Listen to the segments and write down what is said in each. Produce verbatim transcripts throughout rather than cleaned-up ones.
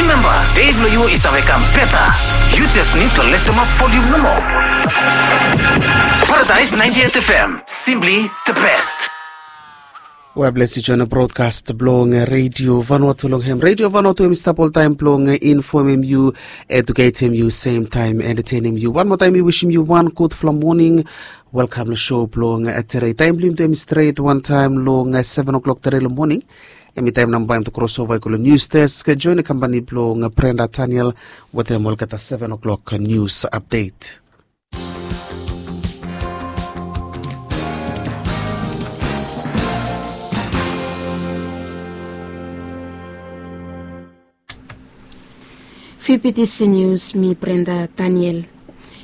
Remember, dei blong yu i save kam beta. You just need to lift them up volume nomo. Paradise ninety-eight F M, simply the best. Well, bless yu, join the broadcast blong, eh, Radio Vanuatu long hem. Radio Vanuatu hem i stap oltaem blong, eh, informem yu, educatem yu, same time entertainem yu. Wan moa taem mi wisim yu wan gudfala moning. Welkam long show blong, eh, tede. Taem blong yumi tu hem i stret wan taem long, eh, seven o'clock tede long moning. Hem i taem nao bae yumi tu crossover i go long news desk, eh, join kampani blong, eh, Brenda Daniel wetem olgeta seven o'clock, eh, news update. Fifty News, mi Brenda Daniel.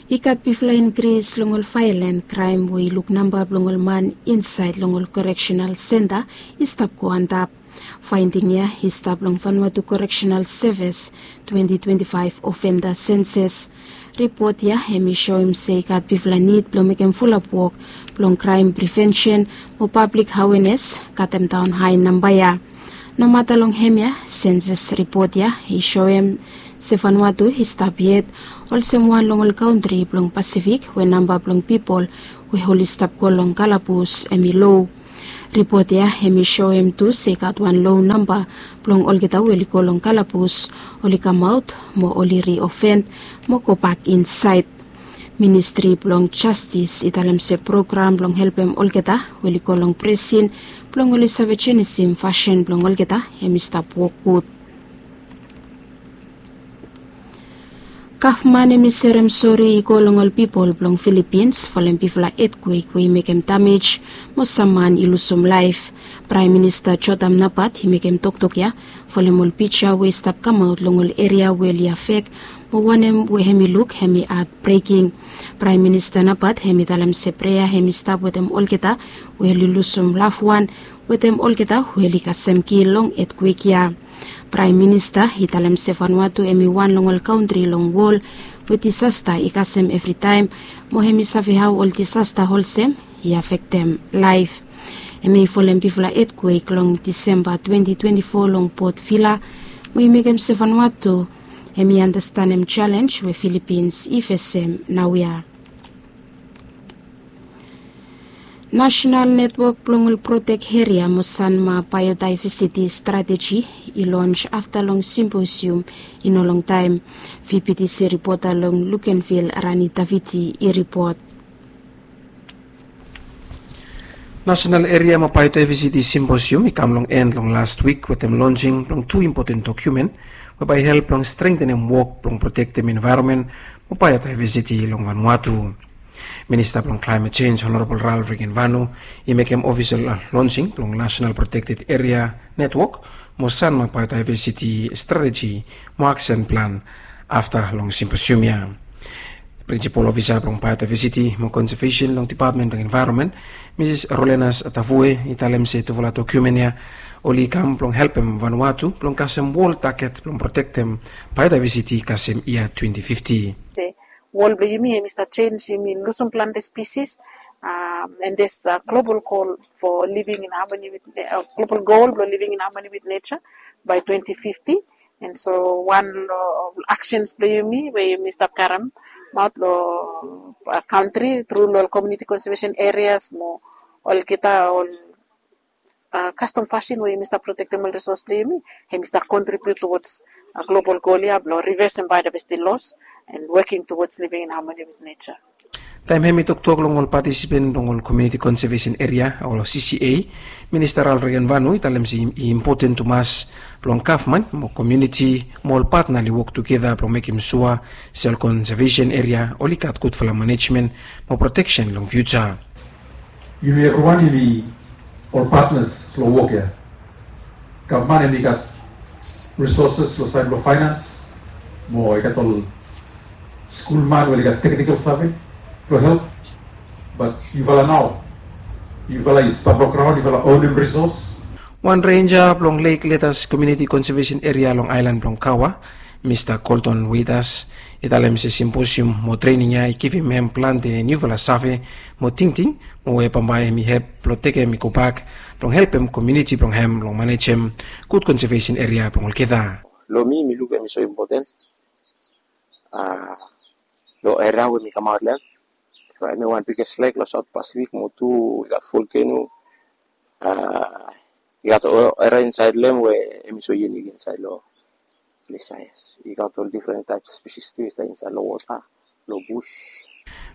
I gat bigfala inkris long ol violent kraem we i luk namba blong ol man insaed long ol correctional center i stap go antap. Faending ya i stap long Vanuatu Correctional Service twenty twenty-five offender census. Ripot ya hem i soem se i gat bigfala nid blong mekem fulap wok blong kraem prevention mo pablik awenes, katemdaon hae namba ya. Nomata long hemia, census ripot ya i soem se Vanuatu i stap yet olsem wan long ol kantri blong Pasifik we namba blong pipol we oli stap go long kalabus hem i lo. Ripot ya hem i soem tu se i gat wan lo namba blong olgeta we oli go long kalabus, oli kamaot mo oli riofen mo gobak insaed. Ministri blong Jastis i talem se program blong helpem olgeta we oli go long presin blong oli save jenisim fasin blong olgeta hem i stap wok gud. Gavman hem i serem sori i go long ol pipol blong Filipins folem bigfala etkwek we i mekem damej mo sam man i lusum laef. Praem Minista Jotham Napat i mekem toktok ya folem ol pija we i stap kamaot long ol eria we oli afek mo wanem we hem i luk hem i hatbreking. Praem Minista Napat hem i talem se prea hem i stap wetem olgeta we oli lusum lavwan wetem olgeta we oli kasem kil long etkwek ya. Praem Minista i talem se Vanuatu hem i wan long ol kantri long wol we disasta i kasem evritaem mo hem i save hao ol disasta olsem i afektem laef. Hem i folem bigfala etkwek long Disemba twenty twenty-four long Port Vila mo i mekem se Vanuatu hem i andastanem jalenj we Filipins i fesem naoia. Nasenal Netwok blong ol Protek Eria mo Sanma Biodiversity Strateji i lons afta long simposium i no longtaem. V P T C ripota long Luganville, Rani Daviti, i ripot. Nasenal Eria mo Biodiversity Simposium i kam long en long las wik wetem lonsing blong tu impoten dokumen we bae i help long strengtenem wok blong protektem envaeronmen mo biodiversity long Vanuatu. Minista blong Klaemet Jenj, Honorabol Ralph Regenvanu, i mekem ofisol lonsing blong Nasenal Protekted Eria Netwok mo Sanma Biodiversity Strateji mo Aksen Plan afta long simposium ya. Prinsipol ofisa blong Biodiversity mo Konsevesen long Depatmen blong Envaeronmen, Misis Rolenas Tavue, i talem se tufala dokumen ya oli kam blong helpem Vanuatu blong kasem wol taget blong protektem biodiversity kasem yia twenty fifty. Wol blong yumi hem i stap jenj, yumi lusum plante spisis, and there's a global goal for living in harmony with, global goal blong living in harmony with nature by twenty fifty. And so wan long actions blong yumi we yumi stap karemaot long kantri tru long ol community conservation areas mo olgeta ol kastom fasin we yumi stap protektem ol resource blong yumi, hem i stap contribute towards global goal ya blong reversing biodiversity loss and working towards living in harmony with nature. Taem hem i toktok long ol patisipen blong ol Community Conservation Area o C C A, Minista Ralph Regenvanu i talem se i impoten tumas blong gavman mo komuniti mo ol patna oli wok tugeta blong mekem sua se ol konsevesen eria oli gat gudfala manejmen mo proteksen long fiuja. Yumi evriwan yumi ol patnas long wok ya. Gavman hem i gat resources long saed blong finance mo i gat ol skulman we oli gat teknikal save blong help. Bat yufala nao, yufala i stap long graon, yufala onem resos. Wan renja blong Lake Leaders Community Conservation Area long aelan blong Kawa, Mista Colton Waiters, i talem se simposium mo trening ya i givim hem plante niufala save mo tingting mo we bambae hem i hep blong tekem i gobak blong helpem komuniti blong hem blong manejem gud konsevesen eria blong olgeta. Long mi, mi luk hemi so impoten long eria we mi kamaot long hem. Hemi wan biges lek long South Pacific, mo tu i gat volkeno. I gat ol eria insaed long hem we hemi so yunik insaed long ples ya. Yes, i gat ol difren taep spesis tu i stap insaed long wota, long bus.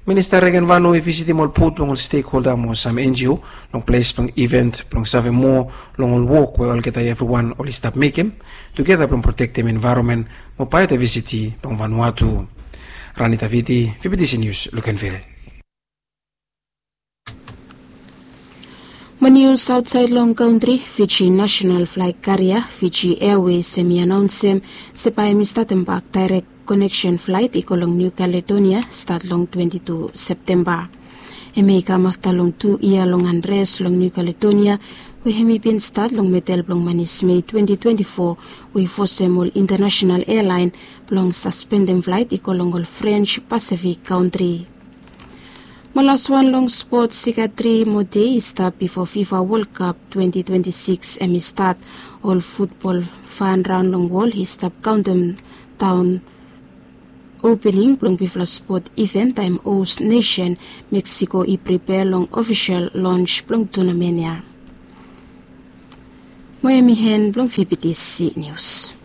Minista Regen Vanua i visitim ol bot blong ol stekholda mo sam NGO long ples blong iven blong save moa long ol wok we olgeta evriwan oli stap mekem tugeta blong protektem envaeronmen mo baeodivesiti blong Vanuatu. Ranita Viti, VBTC Nius, Lukenvil. Mo nius aotsaed long kantri, Fiji nasenal flaet karia Fiji Airways hemi anaonsem se bae hemi statem bak daerek koneksen flaet i go long Niu Kaledonia stat long twenti tu Septemba. Hemia i kam afta long tu yia long anres long Niu Kaledonia we hemi bin stat long medel blong manis Mei twenti twenti fo, we i fosem ol intanasenal ealaen blong saspendem flaet i go long ol Frens Pasifik kantri. Mo laswan long spots, i gat tri moa dei i stap bifo FIFA World Cup twenti twenti sikis hemi stat. Ol futbol fan raon long wol i stap kaontem daon opening blong bigfala spot iven taem hos nesen Mexico i pripea long ofisel lons blong tunamen ya. Mo hemi en blong VBTC Nius.